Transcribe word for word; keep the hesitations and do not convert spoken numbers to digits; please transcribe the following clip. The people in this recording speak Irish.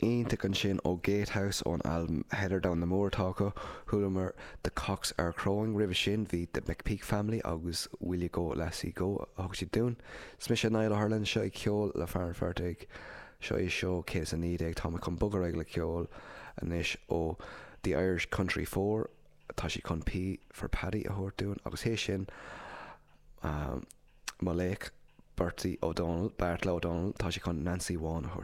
Iontach ansin ó Gatehouse ón albam Heather Down the Moor atá acu. Chualamar The Cocks Are Crowing roimhe sin bhí The McPeak Family agus Will You Go Lassie Go a thug siad dúinn. Is mise Niall Ó hUrlain seo ag ceol le Fear an Phortaigh. Seo é seo céad a naoi déag tá chun bogadh le ceol anois ó The Irish Country Four tá sí chun P for Paddy a thabhairt dúinn agus é sin um, mo laoch Bertie O'Donnell Beairtle Ó Domhnaill tá sé chun Nancy Bhán a thabhairt.